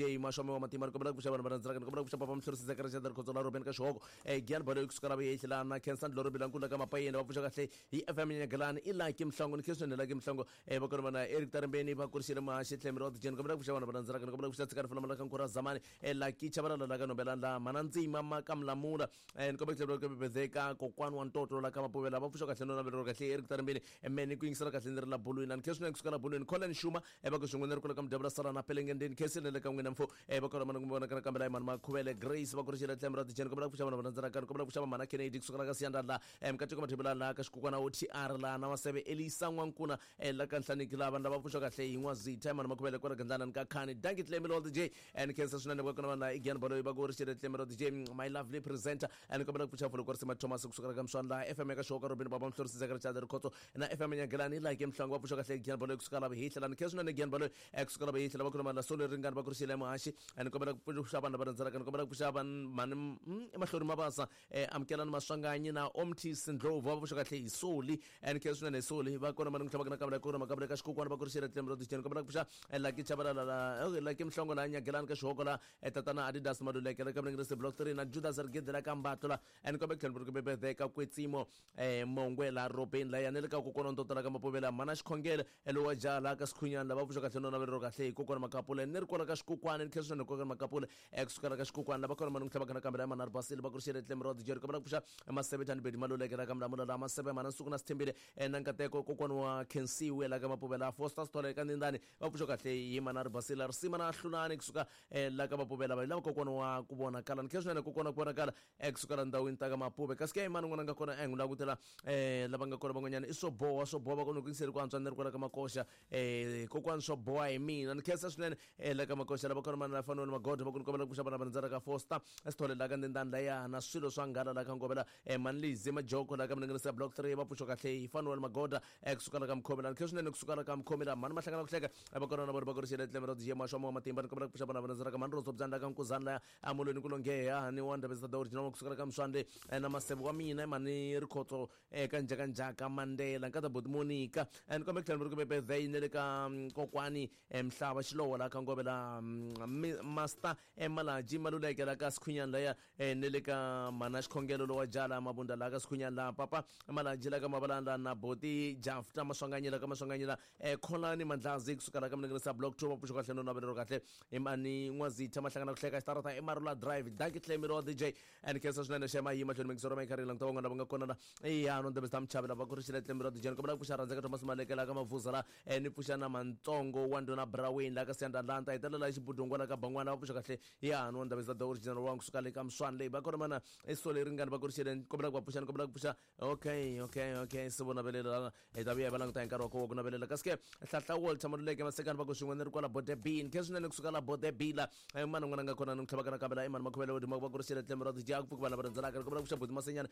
DJ Mashome wa matima ni kombela ku pfuxa vanhu va rhandzaka ni kombela ku pfuxa papa Mhlorisi Zachary Xandra Khotso la Ruben ka Xihoko Gian Baloyi kusuka la Vuyehla na Khensa Ndloro Bilankulu ka Mapayeni va pfuxa kahle hi FM Nyagalani i Lucky Mhlongo ni Khensa Lucky Mhlongo va kona vana Eric Tarimbeni va kurisile Mahaxi Tlhemiri wa DJ ni kombela ku pfuxa vanhu va rhandzaka ni kombela ku pfuxa Tshikani Fulamala ka Nkura Zamani Lucky Chabalala la ka Nombelani la Mana Ndzima ma ka Mlamula ni kombela ku tlhela ku bebezeka kokwani wa ntoto la ka Mapuvela va pfuxa kahle no navelero kahle Eric Tarimbeni mene ku yingisela kahle ni ri la bolweni ni khensa kusuka la bolweni Colin Shuma va ku swin'we ni ri kula ka Mdyabula Sala na Pelengendeni khensa le ka n'wina mfo va kona mana kumbe vona kana kambe la Imani Makhuvele Grace va kurixile tlhelo ra tijeni kombela ku pfuxa vanhu va rhandzaka ni kombela ku pfuxa Mana Kennedy kusuka la ka Siyanda la Mkateko Mathebula la ka Xikukwana OTR la na Maseve Elisa N'wankuna la ka Nhlaniki la vanhu lava pfuxa kahle hi N'wazitha Imani Makhuvele kwala Gandlana ni ka Khani Dankie Tlemi Lord DJ and khensa swinene va kona vanhu la Igian Baloyi va kurixile tlhelo ra DJ my lovely presenter and kombela ku pfuxa Fulu Kwarisima Thomas kusuka la ka Mswani la FM ya ka Xoka Robin Baba Mhlorisi Zachary Chadri Khotso na FM Nyagelani la ke Mhlango va pfuxa kahle Igian Baloyi kusuka la Vihihla la ni khensa swinene Igian Baloyi kusuka la Vihihla va khuluma la Solo Ringani va kurixile Muhaxi ni kombela ku pfuxa vanhu lava rhandzaka ni kombela ku pfuxa vanhu mani emahlweni mabasa Amukelani Maswanganyi na Omtis Ndlovu va pfuxa kahle hi Soli ni khensa swinene hi Soli va kona mani ku tlhava na kambe la kona makabela ka Xikukwana va kurixile Tlhelo ra Dijeni kombela ku pfuxa Lucky Chabalala la Lucky Mhlongo la Nyagelani ka Xihoko la Tatana Adidas Maluleke la ka Mlengirisi Block 3 na Judas Rigidi la ka Mbatlo la ni kombela ku tlhela ku bebedeka Kwetsimo Mongwe la Robeni la ya ni le ka kokwana ntoto la ka Mapovela mana Xikhongelo lowa jaha la ka Sikhunyana lava pfuxa kahle no navelero kahle hi kokwana Makapula ni ri kwala ka Xikukwana ni khensa swinene kokwana Makapula kusukela ka Xikukwana lava kona mani ku tlhava kana kambe la mana ri basile va kurixile Tlemi ra Dijeri kombela ku pfuxa Maseve Thanibedi Maluleke la ka Mlamula la Maseve mana Nsuku na Sithembile na Nkateko kokwana wa Khensiwe la ka Mapovela Foster Sithole ka Ndindani va pfuxa kahle hi mana ri basile Risima na Hlulani kusuka la ka Mapovela va lava kokwana wa ku vonakala ni khensa swinene kokwana ku vonakala kusukela ndhawini ta ka Mapuve kasi ke mani n'wana nga kona n'wi langutela lava nga kona van'wanyana i swo boha swo boha va kona ku yingiseli ku antswa ni ri kwala ka Makoxa kokwani swo boha hi mina ni khensa swinene la ka Makoxa lava kona mani la faniwa ni Magodo va ku ni kombela ku pfuxa vana va rhandzana ka Foster Sithole la ka Ndindani laya na swilo swa nghala la ka Ngovela Manlizi Majoko la ka Mninginisi Block 3 va pfuxa kahle hi Fanuel Magoda kusuka la ka Mkhomi la ni khensa swinene kusuka la ka Mkhomi la mani mahlangana ku hleka va kona na vona va kurixile tlhelo ra DJ Mashomo wa matimba ni kombela ku pfuxa vana va rhandzana ka mani Roso Byani la ka Nkuzani laya amolweni ku longheha ni wa Ndabezitha the original kusukela ka Mswande na Maseve wa mina mani Rikhotso ka Njhaka Njhaka Mandela nkata Boti Monica ni kombela ku tlhela ni ri ku birthday ni le ka kokwani Mhlava Xilowo la ka Ngove la Master Malaji Maluleke la ka Sikhunyani laya ni le ka Mana Xikhongelo lowa Jala Mabunda la ka Sikhunyani la Papa Malaji la ka Mabalanda na Boti Jafta Maswanganyela ka Maswanganyela Kholani Mandlazi kusuka la ka Mninginisa Block 2 va pfuxa kahle no navelero kahle imani N'wazitha Mahlangana ku hleka xitarata i Marula Drive Dankie Tlemi ro DJ and khensa swinene xema yi mahlweni mingisoro ma yi languta van'wana lava nga kona la ya no ndebeza mchavi lava kurixile Tlemi ro DJ ni kombela ku pfuxa rhandzeka Thomas Maleke la ka Mavuza la ni pfuxa na Mantsongo wa Ndhuna Braweni la ka Siyanda Lanta hetelela hi Xibudungwa la ka Bangwana va pfuxa kahle ya no ndebeza the original wa kusuka le ka Mswani leyi va kona mana esole ringani va kurixile ni kombela ku va pfuxa ni kombela ku pfuxa okay okay okay se vo navelela hi ta vuya hi va languta hi nkarhi wa koho ku navelela kasi ke Hlahla Walter Maluleke Masekani va ku swin'we ni ri kwala Bodebini khe swinene kusuka la Bodebila mani n'wana nga kona ni n'wi tlhavaka nakambe la Imani Makhuvele wo duma va kurixile tlhelo ra dya ku pfuki vanhu lava rhendzelaka ni kombela ku pfuxa Buti Masenyana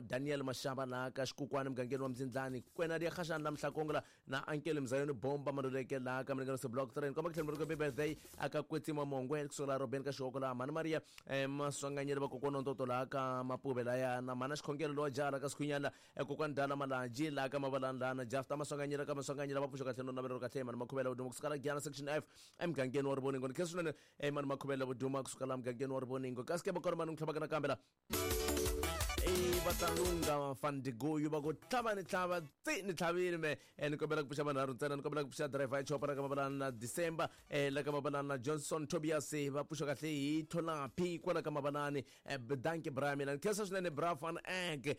Daniel Mashaba la ka Xikukwani mugangeni wa Mzindlani kwena dia Khashani la Mhlakongo la na Ankele Mzayoni Bomba Maluleke la ka Mlingano Block 3 ni komba ku tlhela ri birthday aka Kwetsima Mongwe kusuka la Robeni ka Xihoko la Mhani Maria Maswanganyeli va kokwana Ntoto la ka Mapuve laya na Mhana Xikhongelo lowa jaha la ka Sikhunyana kokwani Dala Malaji la ka Mavalani la na Jafta Maswanganyela ka Maswanganyela va pfuxa kahle no navelero kahle Mhani Makhuvela Vuduma kusuka la Giyana Section F emugangeni wa Rivoningo ni khensa swinene Mhani Makhuvela Vuduma kusuka la mugangeni wa Rivoningo kasi ke va kona mani n'wi tlhavaka nakambe la va ta lunga fandigoyu va ku tlhava ni tlhava tsi ni tlhavile me ni kombela ku pfuxa vanharhu ntsena ni kombela ku pfuxa driver ya chopa la ka Mabalana na December la ka Mabalana na Johnson Tobias va pfuxa kahle hi Tholaphi kwala ka Mabalani danke bra mina ni khensa swinene bra van ek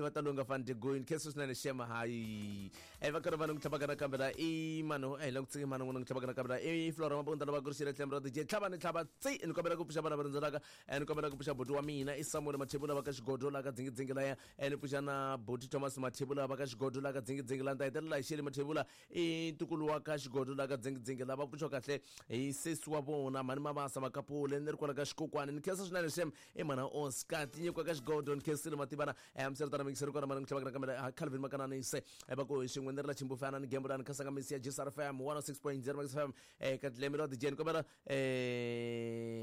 va ta lunga fandigoyu ni khensa swinene shema hayi va karhi va ni ku tlhavaka nakambe la i mani la ku tsiki mani n'wana ku tlhavaka nakambe la i Flora Mabunda lava kurixile tlhelo ra DJ tlhava ni tlhava tsi ni kombela ku pfuxa vana va rindzelaka ni kombela ku pfuxa buti wa mina i Samuel Mathebula va ka Xigodo la ka Dzingidzingi laya ni pfuxa na buti Thomas Mathebula va ka Xigodo la ka Dzingidzingi la ni ta hetelela hi Sheli Mathebula i ntukulu wa ka Xigodo la ka Dzingidzingi lava pfuxiwa kahle hi sesi wa vona mhani Mabasa Makapule ni ri kwala ka Xikokwani ni khensa swinene xem i mhana Oscar tinyiko ka Xigodo ni khensile mativana hamisela mingiseri kona mani n'wi tlhavaka nakambe Calvin Makananise va ku hi swin'we ni ri la Chimbufana ni Gembulani ni khasanga misi ya GSR FM 106.0 Max FM ka Tlemi ra DJ ni kombela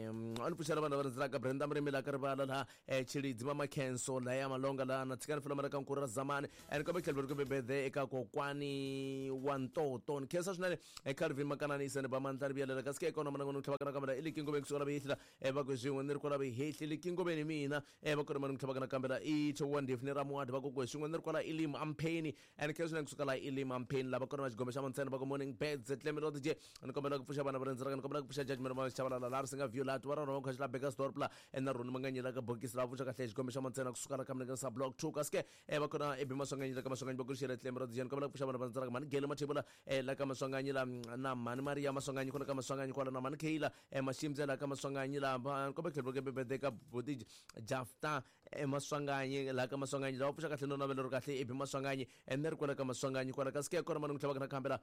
A ni pfuxela vanhu lava rhandzelaka Brenda Murimi la ka rivala laha Tshilidzi Mama Khenso laya Malonga laha na Tshikani Fulama la ka Nkuru ra Zamani. Ni kombe tlhelo ri bebede eka kokwani wa Ntoto. Ni khensa swinene Calvin Makanani Iseni ba Mandla ri vuyelela kasi ke eka wona manangoni tlhava kana kambela i Likingobeni kusuka la Vihehli la va ku swin'we ni ri kwala Vihehli Likingobeni mina va ku ri manangoni tlhava kana kambela i Chowa Ndefu ni Ramuwadi va ku ku swin'we ni ri kwala Elim Ampheni. And khensa swinene kusuka la Elim Ampheni lava kona va xigombe xa Mantsena va ku morning birds Clemelo DJ. Ni kombela ku pfuxa vana va rhendzela ni kombela ku pfuxa Judgment va Chabalala la ri singa view la tuva rona va khaxi la Burgersdorp la na Roni Manganyela ka bokisi la pfuxa kahle xigombe xa Mantsena kusuka la ka Mlengesa block 2 kasi ke va kona ebi Maswanganyi la ka Maswanganyi va ku xela Clemelo DJ. Ni kombela ku pfuxa vana va rhendzela mhani Gele Mathebula la ka Maswanganyi la na mhani Maria Maswanganyi kona ka Maswanganyi kwala na mhani Kayla Mashimze la ka Maswanganyi la ni kombela tlhelo ke bebede ka Boti Jafta Maswanganyi la ka Maswanganyi la pfuxa kahle no navelo ri kahle ebi Maswanganyi ni ri kwala ka Maswanganyi kwala kasi ke kona mani ku tlhava na khambela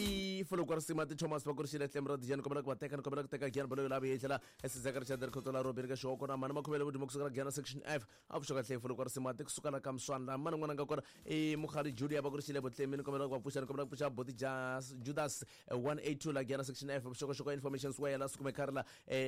i folokwa risima ti Thomas va kurixile tlem ra dijani kombela ku va teka ni kombela ku teka Gian Baloyi la vuyehlela esizeka Richard Rikhotso la Robert ka Xihoko na mhani Makhuvele Vudimo kusuka la Giana section F a pfuxa kahle folokwa risima ti kusuka la ka Mswana la mhani n'wana nga kona i Mukhali Julia va kurixile Botlemi ni kombela ku va pfuxa ni kombela ku pfuxa Boti Judas 182 la Giana section F vuxokoxoko information square la Sukume Kharila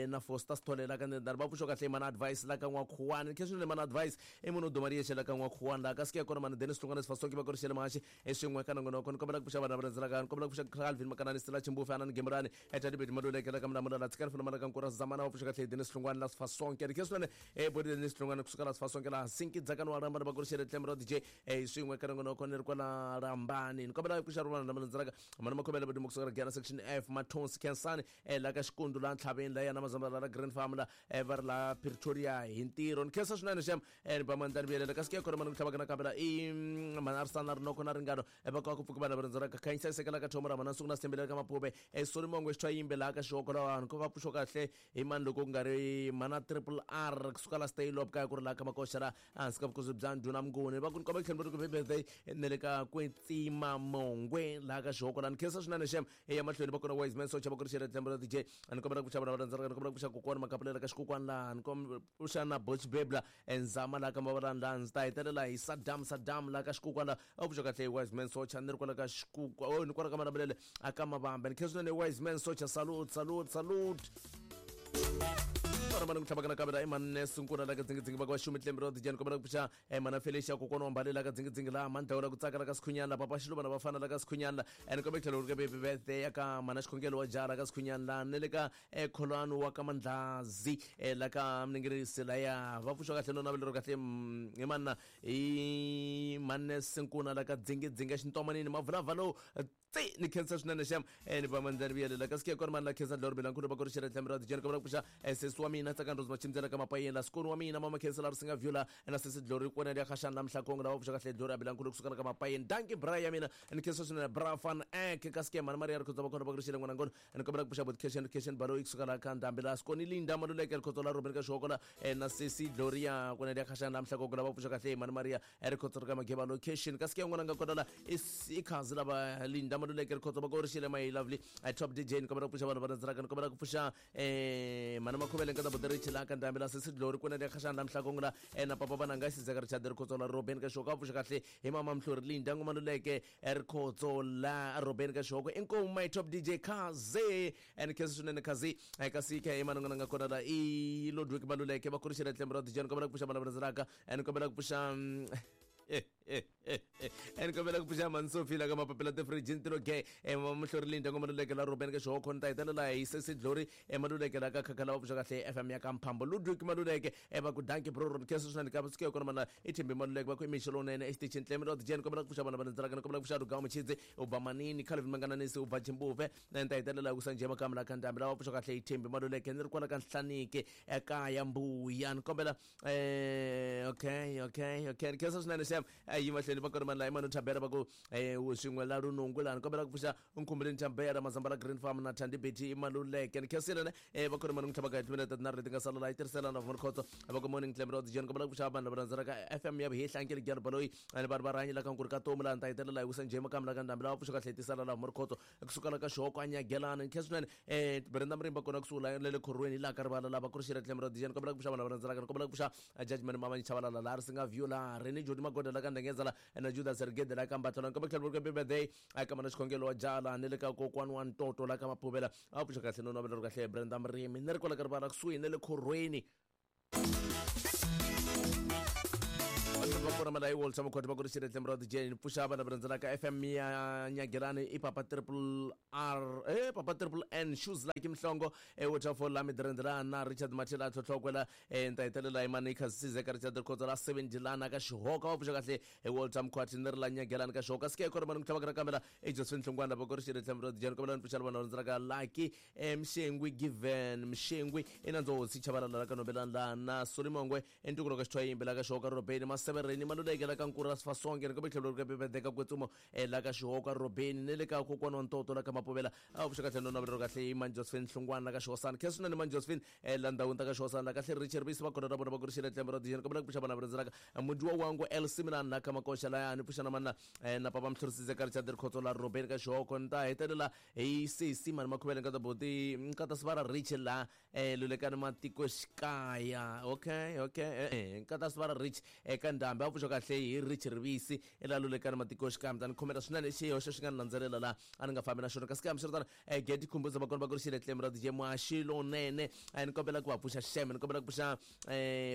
na Foster Sithole la ka Ndendani va pfuxa kahle mana advice la ka N'wakhuwani khe swinene mana advice i munhu duma riyexe la ka N'wakhuwani la ka sike kona mani Dennis Hlongwane Sifasonke va kurixile Mahaxi swin'we ka nongonoko ni kombela ku pfuxa vanhu lava rhendzelaka ni kombela ku pfuxa Calvin Makanani Stella Chimbufe Anani Gemurani Tati Beti Maluleke la ka Mlamula la Tshikani Fulama la ka Nkura Zamana va pfuxa kahle Dennis Hlongwane la Sifasonke ri swinene Bodi Dennis Hlongwane kusuka la Sifasonke la Sinki Dzakani wa Rambani va kurixile Tlem ra DJ swin'we ka nongonoko ni ri kwala Rambani ni kombela ku pfuxa vanhu lava rhendzelaka mani Makhomele Badimo kusuka la Giana section F Mathonsi Khensani la ka Xikundu la Ntlhaveni la yana Mazambala la Green Farm la va ri la Pretoria hi ntirho ni khensa swinene xem ni ba mandlani vuyelela kasi ke kona mani ku tlhava kana kambela i mani a ri sana rinoko na ringano va ka ku pfuka vanhu va rindzela ka khanyisa sekela ka thomo ra mana nsuku na sithembele ka mapupe soli mongo xithwa yimbe laha ka xihoko la vanhu ko va pfuxo kahle hi mani loko ku nga ri mana triple R kusuka la stay lop kaya ku ri laha ka makoxa la hansi ka vukosi bya ndhuna Mnguni va ku ni komba tlhelo ku birthday ne le ka Kwetsima Mongwe laha ka xihoko la ni khensa swinene xem ya mahlweni va kona wise man socha va ku ri xela tlhelo ra DJ ni kombela ku pfuxa vanhu va rhandzaka ni kombela ku pfuxa kokwana Makapulela ka xikokwani laha ni kombela ku pfuxa na Boch Bebla Nzama laha ka Mavalani laha ndzi ta hetelela hi Saddam Saddam laha ka xikukwa laha a pfuxa kahle wise man socha ni ri kwala ka xikukwa oh ni kwala ka Malamulele a ka Mavambe ni khensa swinene wise man socha salute salute salute vana ku tlhava kana kavela i manne sunkuna la ka dzingidzingi va ka va xumi tlembe ro dijani kombela ku pfuxa mana Felicia kokwana wa mbali la ka dzingidzingi laha mandlawula ku tsaka la ka Sikhunyana la papa Xiluva na vafana la ka Sikhunyana la ene kombe tlhelo ri ka baby birthday ya ka mana Xikhongelo wa jara ka Sikhunyana la ne le ka Kholwani wa ka Mandlazi la ka Mningiririsi laya va pfuxa kahle no navelo ro kahle hi manna i manne Sinkuna la ka dzingidzingi xintomanini mavulavha lowu tsi ni khensa swinene xem ni va mandlani vuyelela kasi ke kona mani la khensa dloro bilankulu va ku ri xela tlhambi ra dijeni kombela ku pfuxa sesi wa mina Tsakani Rose Machimdzela ka Mapayeni la sikoni wa mina mama khensa la ri singa vyula na sesi Dlori kona ya khaxani la Mhlakongo lava pfuxa kahle Dlori a bilankulu kusuka la ka Mapayeni danki bra ya mina ni khensa swinene bra fan ek kasi ke mani Maria ri khotsa va kona va ku ri xela n'wana ngona ni kombela ku pfuxa bot Keshen Keshen Baloyi kusuka la ka Ndhambi la sikoni Linda Maluleke rikhotso la Robin ka Xihoko la na sesi Gloria kona ya khaxani la Mhlakongo lava pfuxa kahle mani Maria rikhotso ri ka Mageba location kasi ke n'wana nga kona la i khazi lava Linda Maluleke rikhotso va ku ri xile my lovely top DJ ni kombela ku pfuxa vanhu va rhandzaka ni kombela ku pfuxa mhani Makhuvele nkata buti Richi la ka Ndhambi la sesi Glory kwena ya khaxani la Mhlakongo la na papa vananga Sizeka Richard rikhotso la Robin ka Xihoko a pfuxa kahle hi mama Mhlori Linda Maluleke rikhotso la Robin ka Xihoko inkomu my top DJ Khazi and khensa swinene Khazi kasi khe i mani n'wana nga kona la i Ludwig Maluleke va ku ri xile tlembe ra DJ ni kombela ku pfuxa vanhu va rhandzaka ni kombela ku pfuxa ni kombela ku pfuxa Mansofi la ka mapapila tifrijini tilo ge Muhlori Linda ngo Maluleke la Robin ka Xihoko ni ta hetelela hi sesi Glory Maluleke la ka Khakhala va pfuxa kahle FM ya ka Mphambo Ludwig Maluleke va ku danki bro ron khensa swinene ka suke kona mana i Thembi Maluleke va ku i mixo lowunene exitichini tlemi ra DJ ni kombela ku pfuxa vanhu va rhandzelaka ni kombela ku pfuxa Rugawu Muchidzi u ba Manini Calvin Mangananisi u ba Chimbuve ni ta hetelela hi ku Sanjay Makamu la ka Ndhambi lava pfuxa kahle hi Thembi Maluleke ni ri kwala ka Nhlaniki ekaya Mbuya ni kombela okay okay okay ni khensa swinene xem yi mahlweni va kona mani la imani Thabera va ku swin'we la Lunungu laha ni kombela ku pfuxa Nkhumbuleni Thambera Mazambala Green Farm na Thandi Betty Maluleke ni khensile ne va kona mani n'wi tlhava ka hi timinete tinharhu leti nga sala laha yi tirhisela na vumani khotso va ku morning Clem Road John kombela ku pfuxa vanhu lava rhandzelaka FM ya Vuhehli Ankele Gyalo Baloyi ni vanhu va rhanyi la ka Nkuri ka Tomu laha ni ta hetelela hi ku Sanjay Makamu la ka Ndhambi lava pfuxa kahle tisala laha vumani khotso kusuka la ka Xihoko a Nyagelana ni khensa swinene Brenda Murimba kona kusuhi la le khorweni laha ka rivala lava ku ri xile Clem Road John kombela ku pfuxa vanhu lava rhandzelaka ni kombela ku pfuxa Judgment Mama Chabalala laha ri singa view laha Rene Jodi Magoda la ka Ndenge Ndengezela na Judas Rigede la ka Mbatlana ni kombela ku tlhela birthday eka mana xikhongelo wa jala ni le ka kokwani wa Ntoto la ka Maphuvela a pfuxa kahle no navela ri kahle Brenda Mrimi ni ri kwala ka rivala kusuhi na le khorhweni. Va kona mala i Walter Makhoti va ku ri xiretle murati Jane pfuxa vana va rhandzelaka FM ya Nyagelani i Papa Triple R Papa Triple N Shoes like Mhlongo Waterfall la Midrendela na Richard Mathela tlhotlhokwela nta hetelela hi mani Khasize ka Richard Khotso la 7 Dilana ka Xihoka va pfuxa kahle Walter Mkhwati ni ri la Nyagelani ka Xihoka sike kona mani ku tlhava ka kambela Josephine Hlongwana va ku ri xiretle murati Jane kombela ni pfuxa vana va rhandzelaka Lucky Mshengwi Given Mshengwi inandzo hosi Chabalala la ka Nobelani la na Solimongwe entukulu ka Xithwayimbi la ka Xihoka Robeni Masevereni Maluleke la ka Nkura Sifasonke ni kombe tlhelo ka Bebedeka Kwetsumo la ka Xihoka Robeni ni le ka kokwana wa Ntoto la ka Mapuvela a pfuxa kahle no navela kahle i Man Josephine Hlongwana la ka Xihosana khe swinene Man Josephine la ndhawini ta ka Xihosana la kahle Richard Bisi va kona ra vona va ku ri xiretle ra dijeni kombela ku pfuxa vana va rhandzelaka mudiwa wangu El Similan la ka Makoxa la ni pfuxa na mana na papa Mhlorisise ka Richard Khotso la Robeni ka Xihoko ni ta hetelela hi sesi mani Makhuvele nkata boti nkata Sivara Rich la lulekani matiko xikaya okay okay nkata Sivara Rich eka ndhambi a pfuxa kahle hi Rich Rivisi ela lulekani matiko xikaya mi ta ni khomela swinene xihoxo xi nga ni landzelela la a ni nga fambi na xona kasi kambe swiritano Gedi Khumbuza va kona va ku ri xiretle ra DJ Mwaxilonene ni kombela ku va pfuxa xeme ni kombela ku pfuxa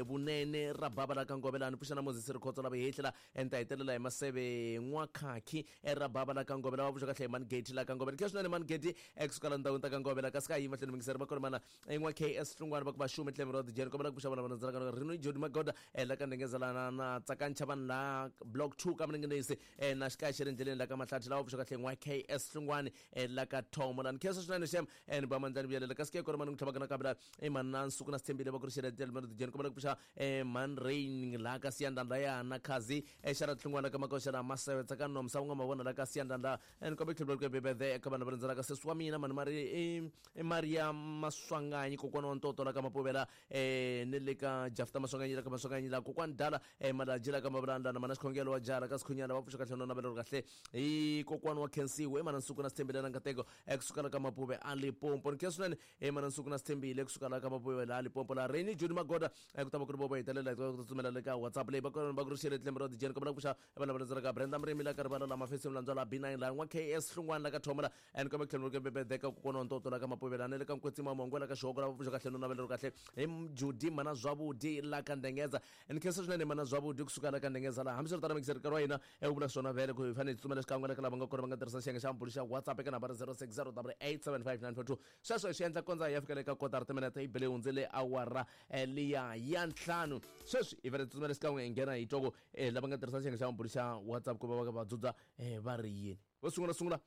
vunene ra baba la ka Ngovela ni pfuxa na Moses Rikhotso la vahehla ni ta hetelela hi Maseve N'wakhakhi ra baba la ka Ngovela va pfuxa kahle hi Mani Geti la ka Ngovela khe swinene Mani Geti ekusuka la ndhawini ta ka Ngovela kasi ka yi mahlweni mingiseri va kona mana N'wa KS Hlungwana va ku va xume tlhelo ra DJ ni kombela ku pfuxa vana va landzelaka Rino Jodi Magoda la ka Ndengezelana na Tsakancha vanhu la Block 2 ka Mninginisi na xikaya xi ri endleleni la ka Mahlathi lava pfuxa kahle N'wa KS Hlungwani la ka Thomo la ni khensa swinene xem ni ba mandlani vuyelela kasi ke kona mani ku tlhavaka nakambe la i mani na Nsuku na Sithembile va ku ri xiretle ra DJ ni kombela ku pfuxa Man Rain la ka Siyandanda ya na Khazi xara Hlungwana ka Makoxa la Maseve Tsakani Nomsa unga mavona la ka Siyandanda ni kombela ku tlhela ku bebede eka vanhu va rhandzelaka sesi wa mina mani mari i Maria Maswanganyi kokwana wa Ntoto la ka Mapuvela ni le ka Jafta Maswanganyi la ka Maswanganyi la kokwani Dala Malaji la ka Mavulandla na mana Xikhongelo wa Jala ka Sikhunyana va pfuxa kahle no navela ri kahle hi kokwana wa Khensiwe mana Nsuku na Sithembile na Nkateko ekusuka la ka Mapuve a Limpopo ni khensa swinene mana Nsuku na Sithembile kusuka la ka Mapuve la Limpopo la Reni Juni Magoda ku ta va ku ri vovo hetelela hi ku tsutsumela le ka WhatsApp leyi va kona va ku ri xele tlembe ra dijeni kombela ku pfuxa vana va rhandzelaka Brenda Mrimi la ka rivala la Mafesi Mlandzwa la B9 la N'wa KS Hlungwana la ka Thoma la and kombe tlhelo ke bebedeka kokwana wa Ntoto la ka Mapuvela ni le ka Nkwetsima Mongwe la ka Xihoko la va pfuxa kahle no navela ri kahle hi Judi mana Zwavudi la ka Ndengeza ni khensa swinene mana Zwavudi kusuka la ka Ndengeza la hambiswiritano mikiseri nkarhi wa hina u vula swona vhele ku hi fanele hi tsutsumela xikan'we le ka lava nga kona va nga tirhisa xiyenge xa mbulo xa WhatsApp eka nambara 0608875942 sweswo hi swi endla kondza hi ya fika le ka kotara timinete yi bele hundzele awara liya ya 5 sweswi hi fanele hi tsutsumela xikan'we hi nghena hi twa ku lava nga tirhisa xiyenge xa mbulo xa WhatsApp ku va va va dzudza va ri yini vo sungula sungula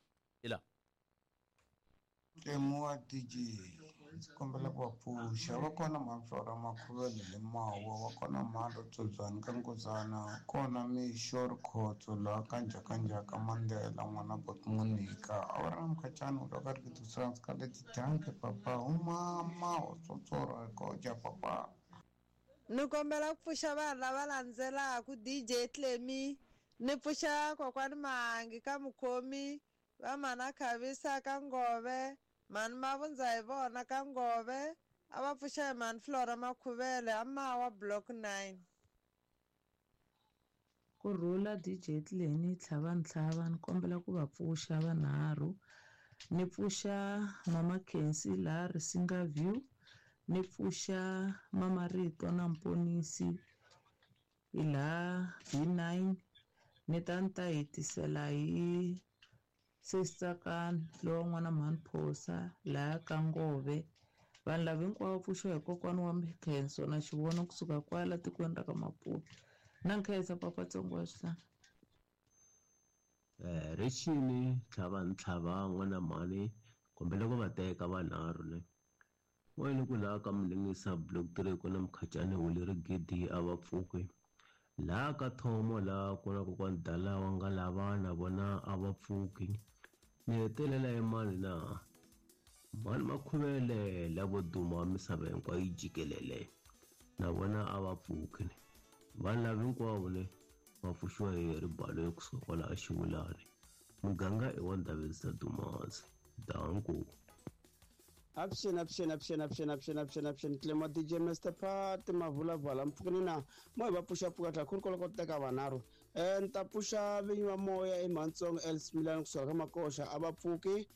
hi la Ntemu wa DJ ndzi kombela ku va pfuxa va kona Maflora Makhuvele le Mawa va kona Mhando Tsotswana ka Nkosana kona Mixo Rikhotso laha ka Njhakanjhaka Mandela n'wana Bot Monica a wu ri na Mkhacani u loko a ri ku ka leti danke papa umama wa tsotsora koja papa. Ni kombela ku pfuxa vanhu lava landzelaka DJ Clemy ni pfuxa kokwani Mahangi ka Mukhomi va mana Khavisa ka Ngove mani Mavundza hi vona ka Ngove a va pfuxa hi mani Flora Makhuvele a Mawa Block 9. Kurhula DJ Clemy tlhava ntlhava ni kombela ku va pfuxa vanharhu ni pfuxa Mama Khensi laha Risinga View ni pfuxa Mama Rito na Mponisi laha B9 ni ta ni ta hetisela hi Sesitsakani lowa n'wana Mhani Phosa laha ka Ngove vanhu lava hinkwavo pfuxiwa hi kokwana wa Mikhenso na xivono kusuka kwala tikweni ra ka Maputo na nkhensa papa Tsongo wa swihlanga. Richini tlhava ntlhava n'wana mhani kombela ku va teka vanharhu ne n'wana ku laha ka Mlingisa Block 3 ku na Mkhacani Huleri Gidi a va pfuki laha ka Thomo laha ku na kokwani Dala wa nga lava na vona a va pfuki ni hetelela hi mani na mhani Makhuvele lavo duma misava hinkwayo yi jikelele na vona a va pfuki vanhu lava hinkwavo ne va pfuxiwa hi ribalo kusuka kwalaha Xivulani muganga i wa Ndhavezisa Dumazi danko. Action, action, action, action, action, action, action. Clemo DJ Mr. Pat, Mavula Vala, Mpfukini na mo hi va pfuxa pfuka tlha khulu koloko teka vanharhu. Ni ta pfuxa vinyi va moya eMhantsongo Els Milani kusuka ka Makoxa a va pfuki,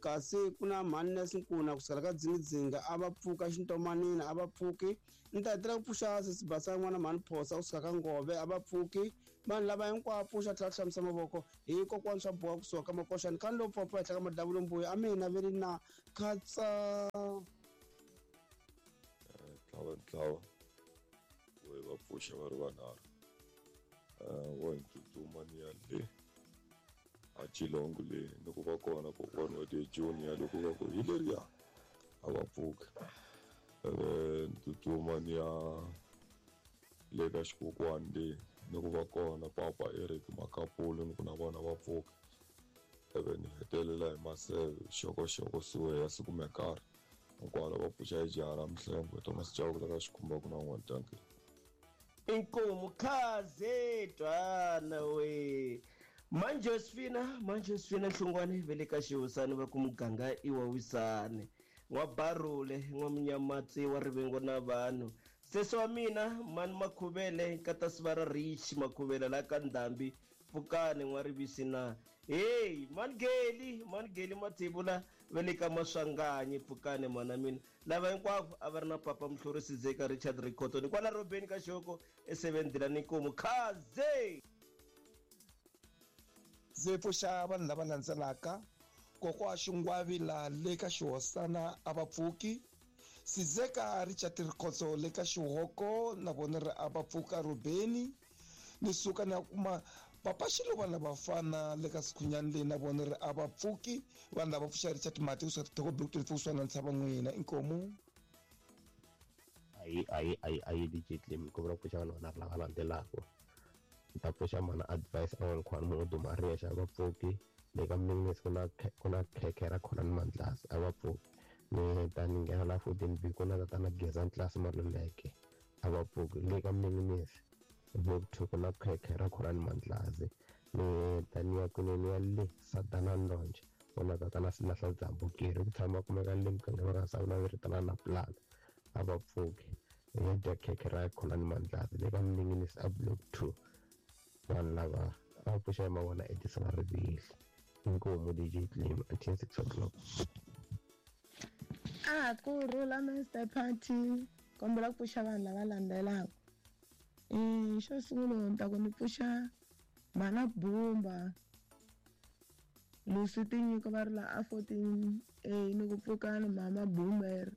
kasi ku na mhani Nes Nkuna kusukela ka Dzingidzinga a va pfuka, Xintomanini a va pfuki. Ni ta hetelela ku pfuxa sesi Basa n'wana mhani Phosa kusuka ka Ngove a va pfuki. Vanhu lava hinkwavo pfuxa tlhela ku hlambisa mavoko hi kokwani swa boha kusuka ka Makoxa ni khani lowu pfapfa henhla ka madavulo mbuya a mina ve ri na khatsa. Tlhava ntlawa wo hi va pfuxa va ri vanharhu, wo hi tsutsuma ni ya le a Chilongo le ni ku va kona kokwani wa ti junior loko va ku hi leriya a va pfuki, ni tsutsuma ni ya le ka xikokwani le ni ku va kona papa Eric Makapulu ni ku na vona va pfuka, ivi ni hetelela hi maseve xokoxoko suwe ya siku mekarhi hinkwalo va pfuxa hi jaha ra Mihlengo Thomas Chauke la ka xikhumba ku na n'wana dankie. Inkomu khaze twana we Manjosfina Manjosfina Hlungwane ve le ka xihosani va ku muganga i wa wisani n'wa Barule n'wa Munyamatsi wa rivengo na vanhu sesi wa mina mani Makhuvele nkata Sivara Rich Makhuvele la ka Ndhambi pfukani n'wa rivisi na hey Mangeli Mangeli Mathebula ve le ka Maswanganyi pfukani mana mina lava hinkwavo a va ri na papa Muhlorisi Zeka Richard Rikhoto ni kwala Robeni ka Xoko e7 Dilani Nkomu khaze. Ndzi pfuxa vanhu lava landzelaka: kokwa Xingwavila le ka Xihosana a va pfuki, Sizeka Richard Rikhotso le ka Xihoko na vona ri a va pfuka Rubeni, ni suka ni ya kuma papa Xiluva na vafana le ka Sikhunyani leyi na vona ri a va pfuki. Vanhu lava pfuxa Richard Mati kusuka Tithoko Block 24 kusuka na ntshava n'wina inkomu. Ayi ayi ayi ayi DJ Clem ku vula pfuxa vanhu vanharhu lava landzelaka. Ni ta pfuxa mana Advice An'wankhwani munhu duma Riyexe a va pfuki, le ka Mninginisi ku na khekhe ra khona ni Mandlasi a va pfuki, ni ta ni nghena la 14 B ku na tatana Geza Ntlasi Maluleke a va pfuki, le ka Mninginisi Block 2 ku na khekhe ra khona ni Mandlasi, ni ta ni ya kunene ya le Sadana Ndonje ku na tatana Silahla Dzambukeri ku tshama kumeka le mugangeni wa Savula ri na Plan a va pfuki, ya dya khekhe ra khona ni Mandlasi le ka Mninginisi a Block 2. Vanhu lava a va pfuxa hi mavona Edison Rivili. Inkomu DJ Clem until 6 o'clock. A ku rhula Mr Party, kombela ku pfuxa vanhu lava landzelaka. Xo sungula ni ta ku ni pfuxa Mana Bumba Lucy Tinyiko va ri la a 14A ni ku pfukani Mama Boomer,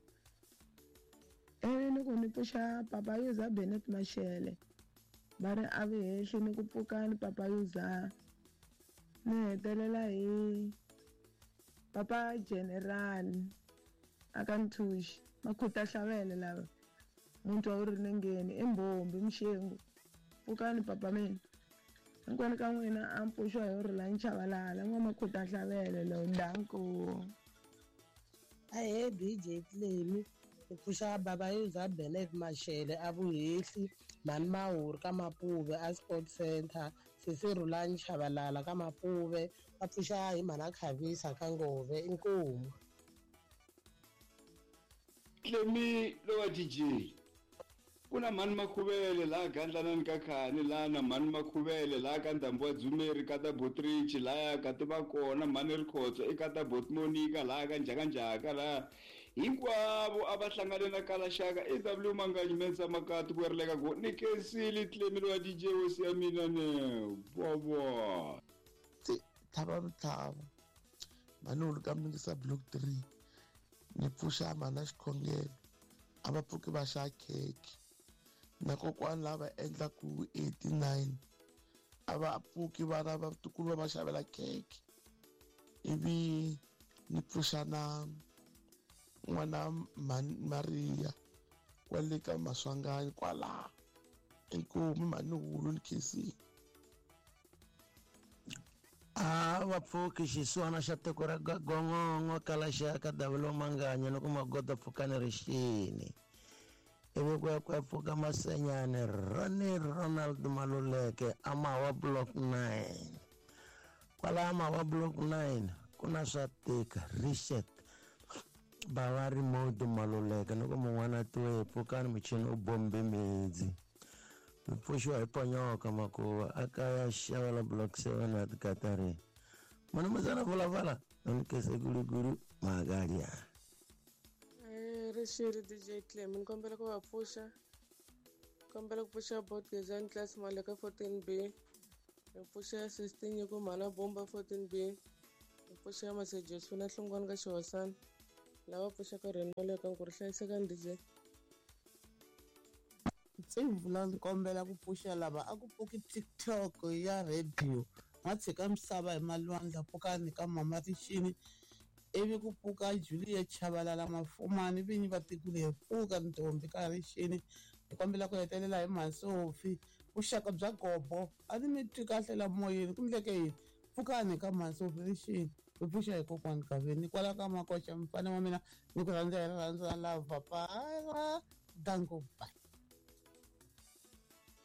ivi ni ku ni pfuxa Papa Yuza Bennett Mashele va ri a vihehli ni ku pfukani Papa Yuza, ni hetelela hi Papa General aka Nthuxi Makhuta Hlavele lava muntu wa ri nengeni i Mbombi Mxengu pfukani papa mina hinkwenu ka n'wina a mpfuxiwa hi ri la Nchavalala n'wa Makhuta Hlavele lo danko. Ahee DJ Clemi ni pfuxa baba Yuza Bennett Mashele a Vuhehli, Mhani Mahuri ka Mapuve a Sport Center, sesi Rhulani Chavalala ka Mapuve, va pfuxa hi mhana Khavisa ka Ngove inkomu. Clemi lowa DJ ku na mhani Makhuvele laha Gandlanani ka Khani, laha na mhani Makhuvele laha ka Ndhambi wa Dzumeri ka ta Botrichi, laha ka ti va kona mhani Rikhotso i ka ta Botmonica laha ka Njhakanjhaka, laha hinkwavo a va hlangane na Kalaxaka AW Manganyi Mensa Makati ku rileka ku ni kensile Clemi lowa DJ hosi ya mina ne vovo. Tlhava mitlhava mhani ka Mingisa Block 3 ni pfuxa mhana Xikhongelo a va pfuki va xa khekhe na kokwani lava endlaku 89 a va pfuki vana va tikulu va va xavela khekhe, ivi ni pfuxa na n'wana Maria kwale ka Maswanganyi kwala inkomu mhani Hulu ni khensile. A va pfuki xisiwana xa tiko ra Gongongo Kalaxaka Davilo Manganya loko magoda pfukani rixini, ivi ku ya ku ya pfuka Masenyane Ronnie Ronald Maluleke a Mawa Block 9. Kwala Mawa Block 9 ku na swa tika Richard Bavari Modu Maluleke loko mun'wana tiwe pfukani muchini u bombe midzi. Mi pfuxiwa hi Ponyoka Makuva a kaya Xavela Block 7 at Katarini. Manumuzana Vulavala, Nkese Gulugulu Magalia. Rixiri DJ Clem, ni kombela ku va pfuxa. Kombela ku pfuxa bot Gezani class Maleka 14B. Ni pfuxa 16 Nyiko Mhana Bomba 14B. Ni pfuxa Masejo Sifuna Hlongwane ka Xihosana. Lava pfuxaka Reni Maleka ku ri hlayisekani DJ. Ntsimvula ni kombela ku pfuxa lava a ku pfuki TikTok ya radio ma tshika misava hi malwandla pfukani ka mama rixini ivi ku pfuka Juliet Chabalala Mafumani vinyi va tiko leri pfuka ntombi ka rixini hi kombela ku hetelela hi Mhansofi vuxaka bya gobo a ni mi twi kahle la moyeni ku ndleke yini pfukani ka Mhansofi rixini hi pfuxa hi kokwani Gaveni kwala ka Makoxa mfana wa mina ni ku rhandza hi rirhandzu ra lava papa danko bye.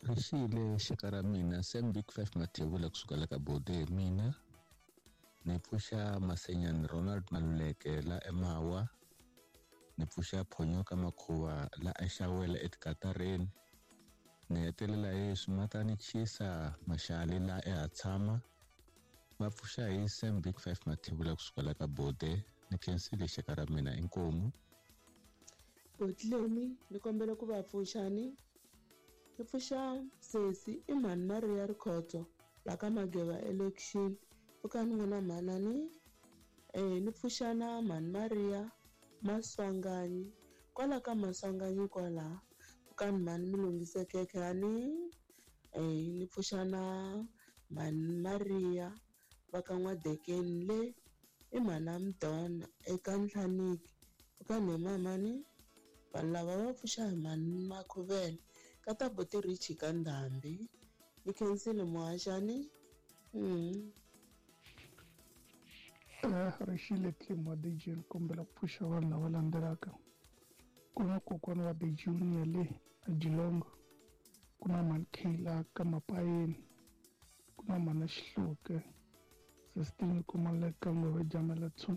Rixile xaka ra mina Sam Big 5 Mathebula kusuka la ka Bode mina ni pfuxa Masenyani Ronald Maluleke la eMawa ni pfuxa Phonyoka Makhuva la eXawela eTikatareni ni hetelela hi Swimatani Chisa Maxali la eHatshama va pfuxa hi Sam Big 5 Mathebula kusuka la ka Bode ni khensile xaka ra mina inkomu. Botlemi ni kombela ku va pfuxani. Ni pfuxa sesi i mhani Maria Rikhotso la ka Mageva election pfukani n'wina mhanani ni pfuxa na mhani Maria Maswanganyi kwala ka Maswanganyi kwala pfukani mhani mi lunghisekeke ani ni pfuxa na mhani Maria va ka N'wadekeni le i mhana Mdona eka Nhlaniki pfukani hi mamani vanhu lava va pfuxa hi mhani Makhuvele ka ta buti Richi ka Ndhambi ni khensile muhaxani. Rixile Clem wa DJ ni kombela ku pfuxa vanhu lava landzelaka. Ku na kokwana wa The Junior le a Geelong, ku na mhani Kayla ka Mapayeni, ku na mhana Xihluke, Sistine Kumaleka Ngove Jamela 2.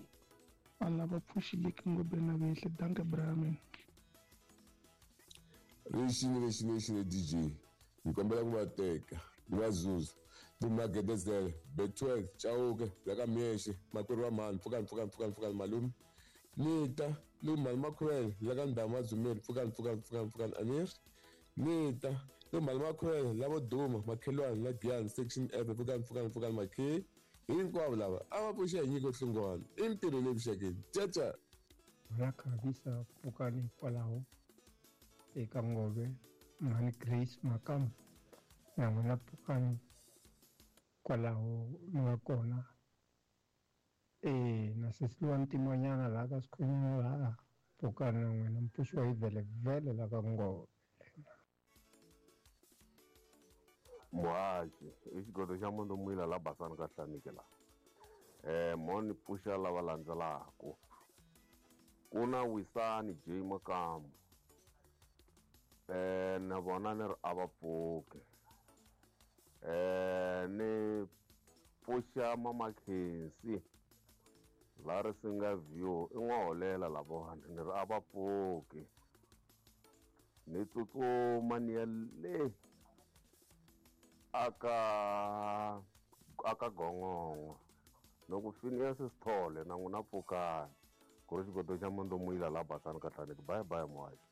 Vanhu lava pfuxileki ngobeni na vehle danke Brahman. Rixile rixile rixile DJ ni kombela ku va teka ni va zuza Dumagedezele Betwell Chauke la ka Miexe makwerhu wa mhani pfukani pfukani pfukani pfukani malume ni ta ni mhani Makhuvele la ka Ndhamu Dzumeri pfukani pfukani pfukani pfukani Amir ni ta ni mhani Makhuvele la vo Duma makhelwani la Giyani section F pfukani pfukani pfukani makhe hinkwavo lava a va pfuxa hi nyiko hlungwana i mintirho leyi vuxakeni caca. Ra khavisa pfukani kwalaho eka Ngove mhani Grace Makamu na n'wina pfukani kwalaho mi nga kona na sesi luwa ntimanyana laha ka swikhonyana laha pfukani na n'wina mi pfuxiwa hi vhelevhele la ka Ngove. Muhaxi i xigodo xa munhu muyila la basani ka Hlaniki la mo ni pfuxa lava landzelaku ku na Wisani J Makamu na vona ni ri a va pfuki ni pfuxa Mama Khensi la Risinga View i n'waholela lavona ni ri a va pfuki ni tsutsuma ni ya le aka Gongongo loko Phineas Sithole na n'wina pfukani ku ri xigodo xa munhu muyila la basani ka Hlaniki bye bye muhaxi.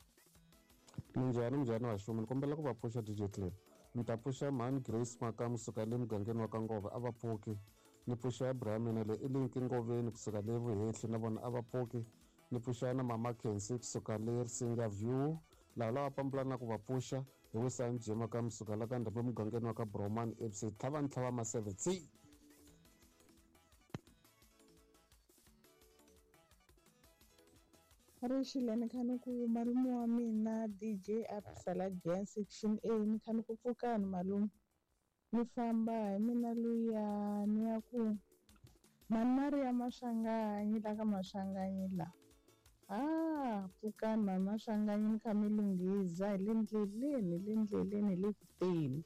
Minjhani minjhani vaxumi ni kombela ku va pfuxa DJ Clem ni ta pfuxa mhani Grace Makamu kusuka le mugangeni wa ka Ngove a va pfuki ni pfuxa Abraham le Elinki Ngoveni kusuka le Vuhehli na vona a va pfuki ni pfuxa na mama Khensi kusuka le Risinga View lava lava pambulana ku va pfuxa hi Wisani J Makamu kusuka la ka Ndhambi mugangeni wa ka Broman FC tlhava ni tlhava maseve tsi. Rixile ni kha ni ku malume wa mina DJ Absala Gyan section A ni kha ni ku pfukani malume ni famba hi mina luya ni ya ku mhani Maria Maswanganyi la ka Maswanganyi la pfukani mhani Maswanganyi ni kha mi lunghiza hi le ndleleni hi le ndleleni hi le kuteni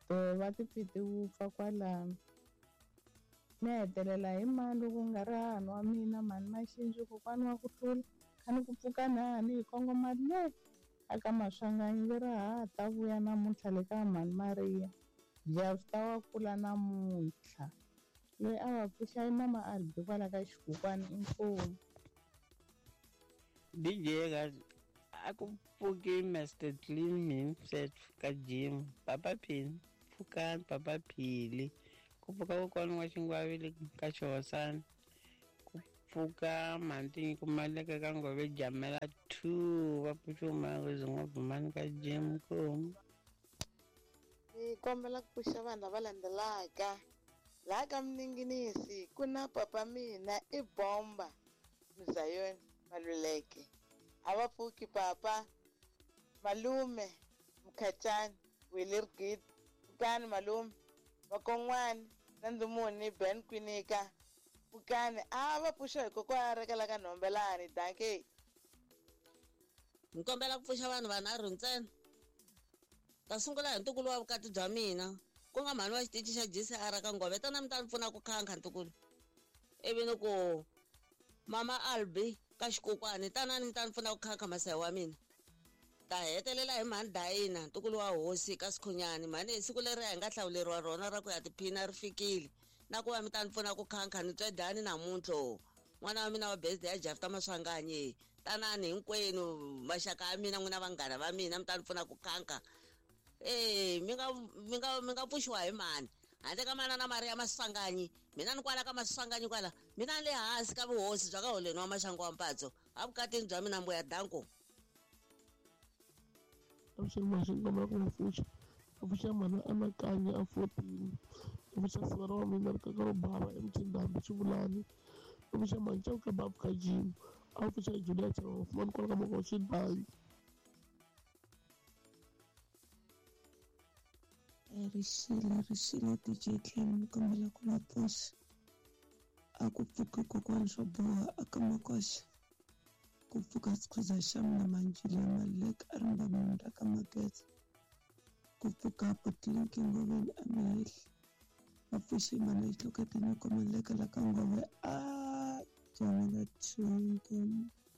to va ti pfi ti wupfa kwalano ni hetelela hi mani loko nga ri hahani wa mina mhani Maxinji kokwani wa ku hlula kha ni ku pfuka nani hi kongoma le Aka Maswanganyi ve ra ha ta vuya namuntlha le ka Mhani Mariya. Jafta wa kula namuntlha. Loyi a va pfuxa i Mama Albi kwala ka Xikukwana inkomu. DJ a ku pfuki Mr Clean himself ka gym Papa Phini pfukani Papa Phili ku pfuka kokwana wa Xingwavile ka Xihosana ku pfuka mhantinyi ku maleka ka Ngove Jamela 2 va pfuxiwe mangezi n'wabumani ka gym komu. Ni kombela ku pfuxa vanhu lava landzelaka laha ka Mninginisi ku na papa mina i Bomba Mzayoni Maluleke a va pfuki papa malume Mkhacani Willie Rigidi pfukani malume vakon'wani na Ndzumuni Ben Kwinika pfukani a va pfuxa hi kokwana rekela ka Nhombelani dankie. Ni kombela ku pfuxa vanhu vanharhu ntsena. Ta sungula hi ntukulu wa vukati bya mina, ku nga mhani wa xitichi xa GCR ka Ngove. Tana mi ta ni pfuna ku khankha ntukulu. Ivi ni ku Mama Albi ka Xikokwani, tanani mi ta ni pfuna ku khankha masahi wa mina. Ta hetelela hi mhani Dayina, ntukulu wa hosi ka Sikhunyani. Mhani hi siku leri hi nga hlawuleriwa rona ra ku ya tiphina ri fikile. Na ku va mi ta ni pfuna ku khankha ni twe dani namuntlha. N'wana wa mina wa birthday ya Jafta Maswanganyi. Tanani hinkwenu maxaka ya mina n'wina vanghana va mina mi ta ni pfuna ku khankha. Eh mi nga mi nga mi nga pfuxiwa hi mani handle ka manana Maria Maswanganyi. Mina ni kwala ka Maswanganyi kwala mina ni le hansi ka vuhosi bya ka holeni wa Maxangu wa Mpatso evukatini bya mina mbuya danko. Avuxeni maxi kombela ku n'wi pfuxa a pfuxa mhani Anakanya a 14 a pfuxa sivara wa mina ri kaka ro bava eMtshindambi Xivulani a pfuxa mhani Chauke Babu ka Jim a pfuxa Julia Chava Fumani kwala ka Makosi Danki. Rixile rixile DJ Clem ni kombela ku va pfuxa a ku pfuki kokwani swo boha a ka Makoxa ku pfuka Sikhuza xa mina Manjile Maluleke a ri mbamunda ka Mageza ku pfuka Butlinki Ngoveni a Mihehli va pfuxe mhani Xihlokete Nyiko Maluleke la ka Ngove a Jamela Thinkomu.